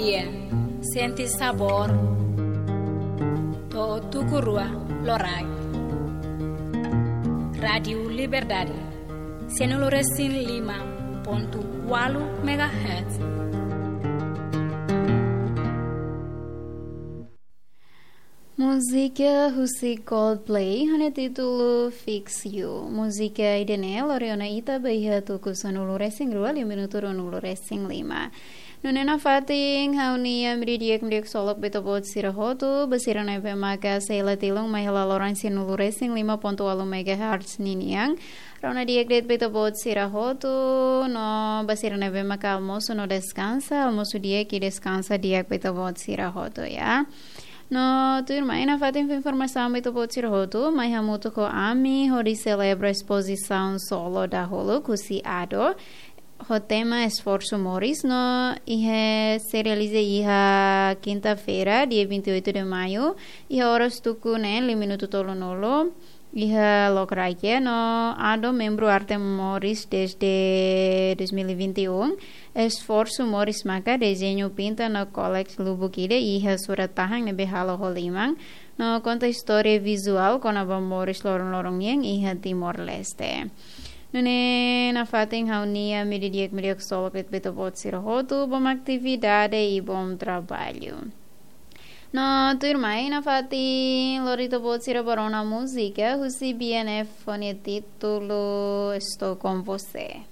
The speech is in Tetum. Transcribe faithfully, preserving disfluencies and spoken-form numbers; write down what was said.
Sente sabór. To'o tuku rua loraik. Rádiu Liberdade, sianulu resin lima pontu ualu megahertz. Múzika husi Coldplay ho nia títulu Fix You. Múzika ida-ne'e lori ona ita ba iha tuku sanulu resin rua, liu minutu ruanulu resin lima. Nune'e nafatin ha'u-nia hamriik di'ak, hamriik solok ba ita-boot sira hotu, ba sira ne'ebé maka sei la tilun mai hela loron sianulu resin lima pontu ualu megahertz ninian. Rona di'ak de'it ba ita-boot sira hotu, no ba sira ne'ebé maka almosu no deskansa, almosu di'ak i deskansa di'ak ba ita-boot sira hotu, ya. No tuirmai nafatin fó informasaun ba ita-boot sira hotu, mai hamutuk ho ami hodi selebra espozisaun solo dahuluk husi ADO, ho tema Esforsu Moris, no iha sei realiza iha kinta-feira, dia vinte e oito de maio, iha oras tuku neen liu minutu tolunulu, iha Lokrake, no ADO membru Arte Moris desde dois mil e vinte e um, Esforsu Moris maka dezeñu pinta no kólex lubuk ida iha surat-tahan ne'ebé halo ho liman, no konta istória vizuál kona-ba moris loron-loron nian iha Timor-Leste. Nune'e nafatin ha'u-nia hamriik di'ak, hamriik solok ba ita-boot sira hotu, bom atividade i bom traballu. No tuirmai nafatin lori ita-boot sira ba rona múzika husi B N F ho nia títulu Estou com Você.